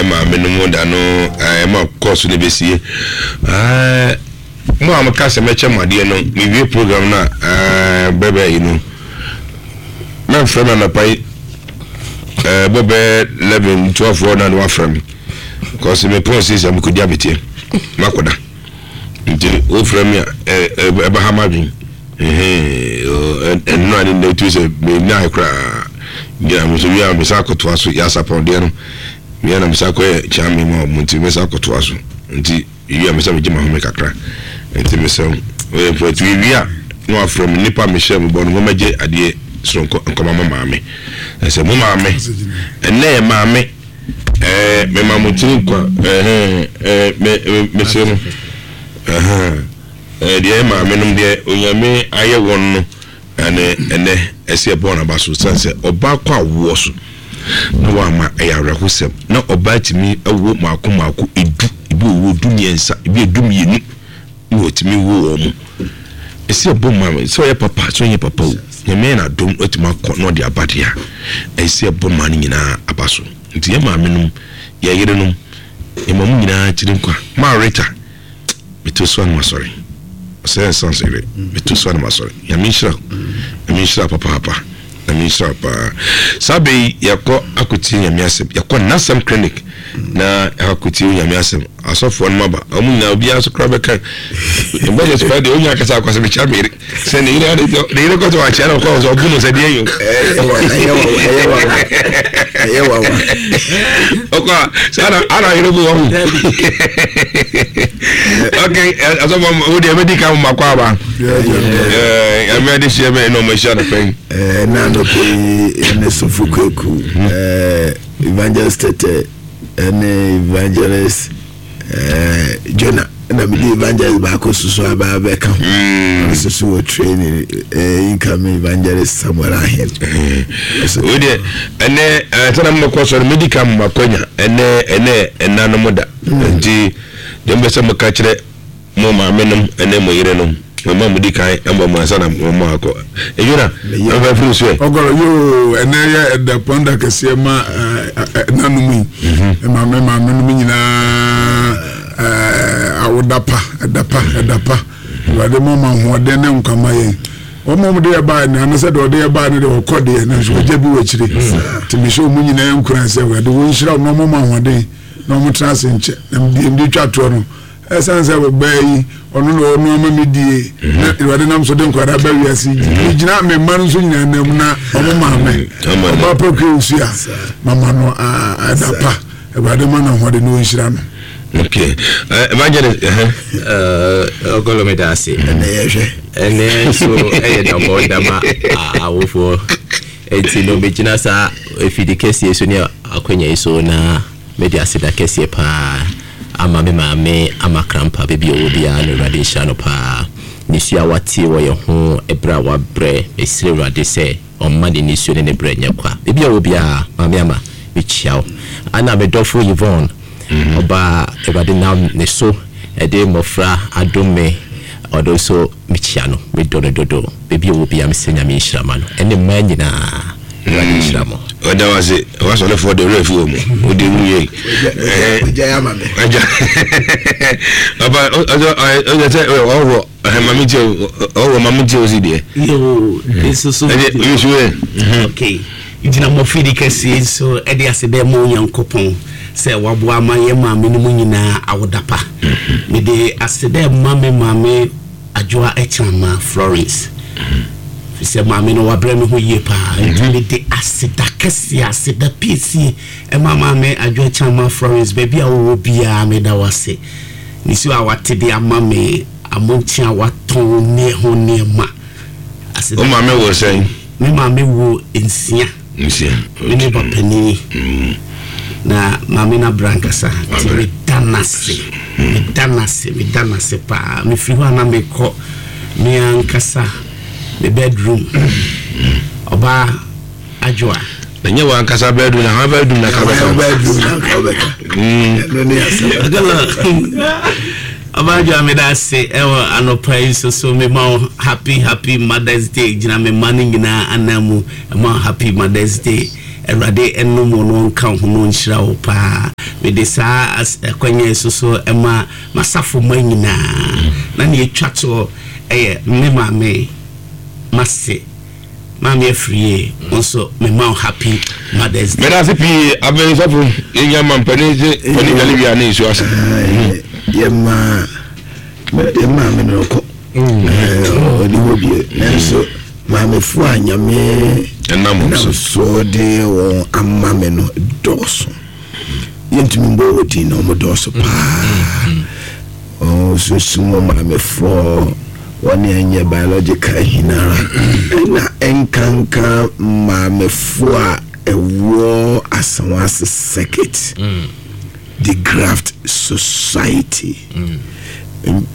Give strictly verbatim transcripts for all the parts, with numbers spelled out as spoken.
Maame no mu da no ɛma kɔɔso no bɛsie. Mo a moka sɛ mɛkyɛ mo adeɛ no, mewie program no a, bɛbɛ yi no, mɛmfrɛ me anɔpa yi bɔbɛ eleven twelve hɔ na ne wafrɛ me, kɔsi mepɔn sisi a mekɔdi abeteɛ makɔda, nti wofrɛ me a ɛbɛha m'adwen. Ɛno a ne nnɛ tu sɛ menyae koraa gyina me so wie a, mesa akɔtoa so. Yɛ asapɔndeɛ no meyɛ na mesa kɔyɛ kyea ma ɔmo, nti mesa akɔtoa so. Nti wie a, mesa megye mahome kakra, nti mesɛ ɔyɛ mfrɛtu wie a na wafrɛ me. Nnipa mehyɛ mo bɔ no, momɛgye adeɛ soronko nkɔma mo maame. Ɛsɛ mo maame ɛnɛ yɛ maame ɛɛ mema mo tiri nkwa. Ɛhɛn ɛɛ me me mesrɛ mo, ɛhɛn ɛɛ deɛ maame nom deɛ Onyame ayɛ wɔn no, ɛnɛ ɛnɛ ɛsɛ ɛbɔ n'aba so, sɛn sɛ ɔbaa kɔ awoɔ so na wama ɛyɛ awerɛhosɛm na ɔbaa tumi ɛwo maako maako edu, ebi wɔ du mmiɛnsa, ebi edu mmienu na wɔtumi wo wɔn mo. Ɛsɛ ɛbɔ maame sɛ ɔyɛ papa, sɛ ɔnyɛ papa o, Nyame yɛ n'adom atumi akɔ na ɔde aba deɛ a, ɛsɛ ɛbɔ maa no nyinaa aba so. Nti yɛ maame nom, yɛ yere nom, yɛ ma mo nyinaa tiri nkwa. Maa Rita meto so anum asɔre ɔsɛ nsan so yere meto so anum asɔre. Nyame nhyira, Nyame nhyira papaapa, Nyame nhyira paa. Saa bɛ yi yɛkɔ akɔtie Nyame asɛm, yɛkɔ Nasɛm Clinic na akɔtie Nyame asɛm. Asɔfoɔ no maba, ɔmo nyinaa obiara so koraa bɛka mbɛyɛ so deɛ onya akasa akɔ sɛ mekyia me yere sɛ ne yere ade ne yere kɔtɔ wakyia na ɔkɔ sɛ ɔbu no sɛ deɛ yo. Ɛyɛ wawa. Ɔkɔ a sɛ ana ana yere bu wɔn. Ok, asɔfo, wo deɛ bɛdi ka mo makɔ aba ɛɛ ɛmɛ de hyia bɛ ɛna ɔmo ahyia no pɛn. Ɛna anɔpɛ yi ɛne Sɔfo Kwaku, Evangelist Tɛtɛ ɛne Evangelist Jonah, ɛna mede evangelist baako soso aba abɛka ho. Ɔno soso wɔ training, incoming Evangelist Samuel Ahen. Wo deɛ ɛnɛ ɛsɛ na mobɛkɔ sɔre medi ka mo makwanya. Ɛnɛ ɛnɛ ɛna no mo da, nti deɛ mobɛ sɛ moka kyerɛ mo maame nom ɛne mo yere nom, mo ma modi kan ɛmbɔ mo ansa na mo mo akɔ ɛdwuna ɛmfa firi so ɛ. Ɔgɔrɔ yoo, ɛnɛ yɛ ɛda pɔnda kɛseɛ ma ɛnanom yi, maame maame nom nyinaa, awoda pa, ɛda pa, ɛda pa. Awurade ma ɔma ahoɔden ne nkwama yɛn. Wɔn a wɔde yɛ baa no ano sɛ deɛ ɔde yɛ baa no deɛ ɔkɔ deɛ, nanso ɔgya bi wɔ akyire, nti mehyɛ wɔn nyinaa nkura sɛ Awurade wɔn nhyira wɔn na wɔn ma ahoɔden na wɔn tena ase nkyɛ. Na deɛ mde twa toɔ no, ɛsan sɛ ɔbaa yi ɔno na ɔno ama mi die na Awurade nam so de nkwadaa ba wiase yi, gyina me mma no nso nyinaa nam na ɔmo maame ɔbaa pɛkua osu a mama no ɛda pa. Awurade ma no ahoɔden na ɔnhyira no. Ok, Evangelist. Ɔgɔlɔ, meda ase. Ɛnɛ yɛhwɛ. Ɛnɛ nso ɛyɛ dabɔ dama awofoɔ, nti no megyina saa afidi kɛseɛ so ne akwanya yi so na mede aseda kɛseɛ paa ama me maame Ama Krampa. Baabi a ɔwɔ biara no, Awurade nhyira no paa. Nisuo a watie wɔ yɛn ho ɛberɛ a wabrɛ, mesrɛ Awurade sɛ ɔmma ne nisuo ne ne berɛ nyɛ kwa. Baabi a ɔwɔ biara, Maame Ama, mekyia wo. Ana medɔfo Yvonne, ɔbaa Awurade nam ne so ɛde mmɔfra adom me, ɔno nso mekyia no, medɔ no dodo. Baabi a ɔwɔ biara, mesrɛ Nyame nhyira ma no ɛne mmaa nyinaa. Awurade nhyira mo. Ɔda wa se wasɔlefoɔ de werɛ fi wɔ mu wode wu yei. Ɔgya yɛ ama me. Agya papa, ɔsɛ sɛ ɔworɔ mame tie, ɔworɔ mame tie o si deɛ. Yoo, nso so. Ɛde nso yɛ. Ok, gyina mmɔfidi kɛseɛ nso ɛde ase dɛ ma Onyankopɔn sɛ waboa ama yɛ maame no mu nyinaa awoda pa. Mede ase dɛ ma me maame Adwoa Ɛkyerama Florence, fi sɛ maame no wabrɛ me ho yie paa, nti mede aseda kɛseɛ, aseda piesie ɛma maame Adwoa Ɛkyerama Florence. Baabi a wowɔ biara, meda wo ase. Nisuo a wate de ama me, amonkye a watɔn ne ho nneɛma. Aseda. Wo maame wɔ sɛn? Me maame wo nsia. Nsia. Me ne papanin na maame no abra nkasa, nti meda n'ase, meda n'ase, meda n'ase paa. Mefiri hɔ a na mekɔ me ankasa me bedroom, ɔbaa Adwoa. Na nyɛ wɔ ankasa bedroom na hwan bedroom na ka bɛka? Bedroom na ka bɛka, ɛno ne asɛm. Ɔbaa Adwoa, meda ase ɛwɔ anɔpa yi nso so. Mema wo happy, happy Mother's Day. Gyina me mma no nyinaa anan mu ɛma wo happy Mother's Day. Awurade ɛnom wo no, ɔnka wo ho no, ɔnhyira wo paa. Mede saa akwanya yi so so ɛma masafo ma nyinaa, na nea ɛtwa toɔ ɛyɛ me maame, mase maame Afirie nso, mema wo Happy Mother's Day. Mɛda ase pii. Abɛn sɔfo, yɛnya ma mpanin sɛ panin dwale wia ne nsuo ase. Yɛma mɛdeɛ maame no kɔ ɔde hɔ bie, nanso maamefoɔ a Nyame ɛnam nam so so de wɔn ama me no dɔɔso. Yɛntumi mbɔ wɔ din na ɔmo dɔɔso paa. Sunsum maamefoɔ, wɔne ɛnyɛ biological hinara, ɛna ɛnkanka maamefoɔ a ɛwɔ Asawase Circuit, The Graft Society.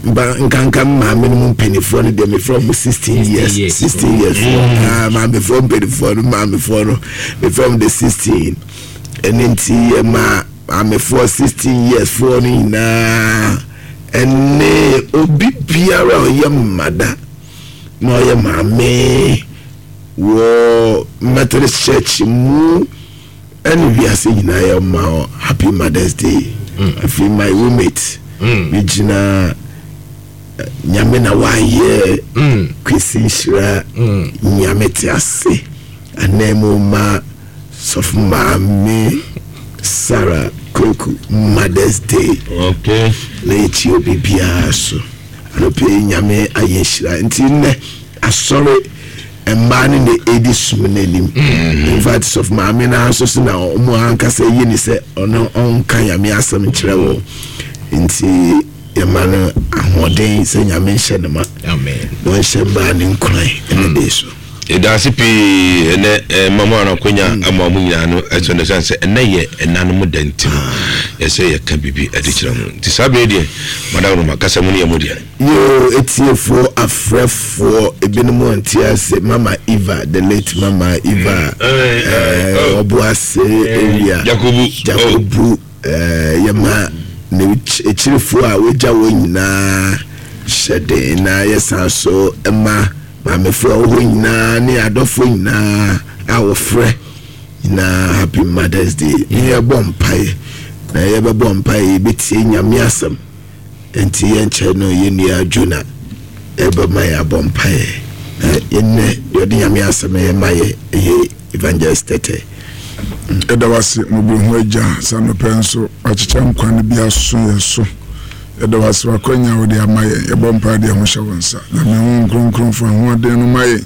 Mba nkanka maame no mu mpanimfoɔ no deɛ, mefrɛ mo sixteen years. Years. Sixteen years. Ah, maamefoɔ mpanimfoɔ no, maamefoɔ no, mefrɛ mo the sixteen. Ɛne nti yɛma maamefoɔ sixteen years foɔ no nyinaa, ɛne obi biara a ɔyɛ mmada na ɔyɛ maame wɔ Methodist Church mu ɛne wiase nyinaa, yɛ ma Happy Mother's Day. Afei my roommate, megyina eh, Nyame na wayɛ Kwesi Nhyira, Nyame te ase anan mu ma Sɔfo Maame Sarah Kweku Mother's Day. Okay na yɛkyi obi biara so anɔpɛ yi. Nyame ayɛ nhyira nti nnɛ asɔre mmaa no na ɛdi som no anim. In fact, sɔfo maame no nso so na ɔmo ankasa yi ne sɛ ɔno ɔnka Nyame asɛm nkyerɛ wɔ, nti yɛma no ahoɔden sɛ Nyame nhyɛ ne ma Amen. Na ɔnhyɛ mmaa ne nkuran ɛne de so. Yɛda ase pii. Ɛnɛ eh, mama no akwanya ama mo nyinaa no ɛsɛ no sane sɛ ɛnɛ yɛ ɛna no mu da, nti no yɛsɛ yɛka biribi ɛde kyerɛ mo. Nti saa berɛ deɛ, Madam Roma, kasa mu no yɛ mu deɛ. Yo, etiefoɔ, afrɛfoɔ, ebinom nte ase. Mama Eva, the late Mama Eva, ɛɛ ɔbo ase area. Jacobu. Jacobu, ɛɛ yɛma ne ekyirifoɔ a wagya wɔn nyinaa hyɛ den, na yɛsan so ɛma maamefoɔ a wɔwɔ hɔ nyinaa ne adɔfoɔ nyinaa a wɔfrɛ nyinaa Happy Mother's Day. Ne yɛbɔ mpaeɛ, na yɛbɛbɔ mpaeɛ, yɛbɛtie Nyame asɛm. Nti yɛnkyɛ no, yɛn nua Jona ɛbɛma yɛ abɔ mpaeɛ, na yɛnnɛ deɛ ɔde Nyame asɛm yɛ ma yɛ ɛyɛ Evangelist Tɛtɛ. Ɛda wase, mmɔborɔhu Agya, sɛ anɔpɛ nso wakyekyɛ nkwa no bi aso yɛ so. Ɛda wase wakwanya a wode ama yɛn. Yɛbɔ mpa deɛ ho hyɛ wo nsa. Nyame ho Kronkron, fa ahoɔden no ma yɛn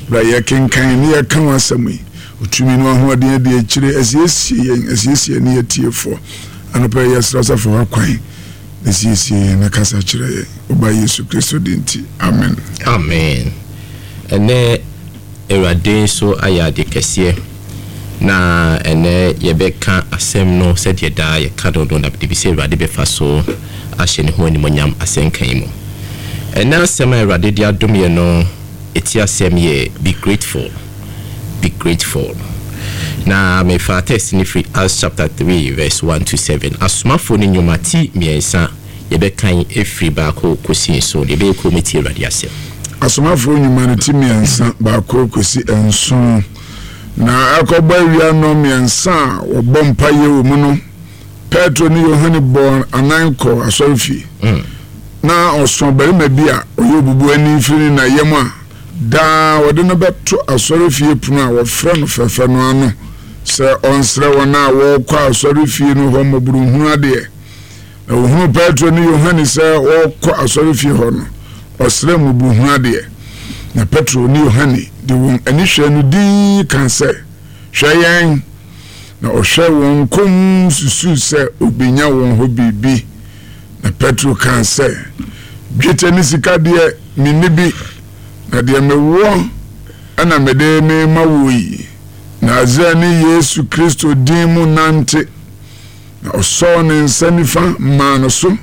berɛ a yɛkenkan ne yɛka wo asɛm yi. Ɔtumi no ahoɔden adi akyire, asiesie yɛn, asiesie ne yɛtiefoɔ. Anɔpɛ yi yɛsrɛ sɛ fa w'akwan na siesie yɛn na kasa kyerɛ yɛn. Woba Yesu Kristo din nti, amen. Amen. Ɛnɛ Awurade nso ayɛ ade kɛseɛ, na ɛnɛ yɛbɛka asɛm no sɛdeɛ daa yɛka no no na mede bi sɛ Awurade bɛfa so ahyɛ ne ho animonyam asɛnka yi mu. Ɛnɛ asɛm a Awurade de adom yɛ no, ɛti asɛm yɛ "Be grateful, be grateful". Na mefa text no firi Acts chapter three verse one to seven, Asomafoɔ no Nnwuma ti mmiɛnsa, yɛbɛkan ɛfiri baako kɔsi nson. Yɛbɛyɛ kɔn tie Awurade asɛm. Asomafoɔ Nnwuma no ti mmiɛnsa, baako kɔsi nson. Na ɛkɔbɔ awia nnɔ mmiɛnsa a wɔbɔ mpayɛ wɔ mu no, Petro ne Yohane bɔɔ anan kɔ asɔrefie. Na ɔso barima bi a ɔyɛ obubuani firi ne na yam a daa wɔde no bɛto asɔrefie pono a wɔfrɛ no Fɛfɛ no ano sɛ ɔnsrɛ wɔn a wɔrekɔ asɔrefie no hɔ mmɔborɔhunu adeɛ. Na ohunu Petro ne Yohane sɛ wɔrekɔ asɔrefie hɔ no, ɔsrɛ mmɔborɔhunu adeɛ. Na Petro ne Yohane de wɔn ani hwɛ no dinn ka sɛ, "Hwɛ yɛn." Na ɔhwɛ wɔn komm susuu sɛ obenya wɔn hɔ biribi. Na Petro kaa sɛ, "Dwetɛ ne sika deɛ, menni bi, na deɛ mewɔ ɛna mede mema wo yi. Nasareni Yesu Kristo din mu, nante." Na ɔsɔɔ ne nsa nifa maa no so,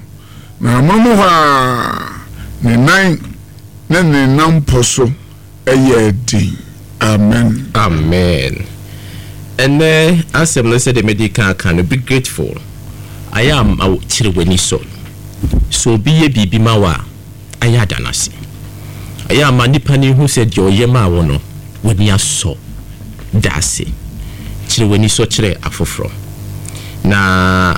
na amonom hɔ a ne nan ne ne nampɔ so ɛyɛ den. Amen. Amen. Ɛnɛ asɛm no, sɛdeɛ mede ka aka no, "Be grateful". Ayɛ ama wo kyerɛ w'ani sɔ. Sɛ obi yɛ biribi ma wo a, ayɛ ada no ase. Ɛyɛ ama nipa no hu sɛ deɛ ɔyɛ maa wo no, w'ani asɔ. Da ase, kyerɛ w'ani sɔ kyerɛ afoforɔ. Na